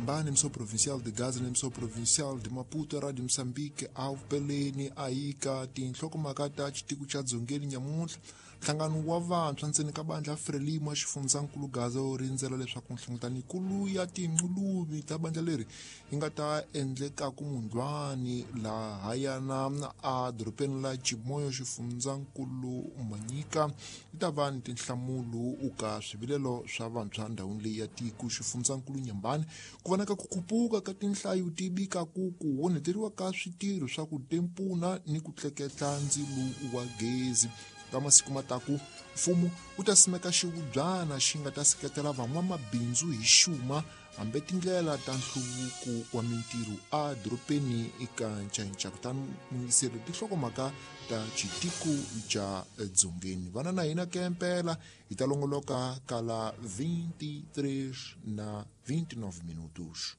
Inhambane, emissão provincial de Gaza na emissão provincial de Maputo, Rádio Moçambique, Alpeleni, Aika, tinhlokomhaka ta xitiko xa Dzongeni nyamuntlha. Nhlangano wa vantshwa ntseni ka bandla Frelimo xifundzankulu Gaza wu rindzela leswaku nhlengeletano ya tinquluvi ta bandla leri yi nga ta endlekaku mundlwani lahayana a dorobeni la Chimoio xifundzankulu Manyika yi ta va ni tinhlamulo ka swivilelo swa vantshwa ndhawini leyi ya tiko xifundzankulu Nyambani ku vonaka ku khupuka ka tinhlayo ti vikaku ku onheteriwa ka switirho swa ku tempuna ni ku tleketla ndzilo wa gezi. Ka masiku mataku mfumo wu ta simeka xivubyana xi nga ta seketela van'wamabindzu hi xuma hambi tindlela ta nhluvuko wa mintirho a dorobeni eka ncainca. Kutani muyingiseri tinhlokomhaka ta xitiko xa Dzongeni vana na hina kempela hi ta longoloka kala 23 na 29 minutos.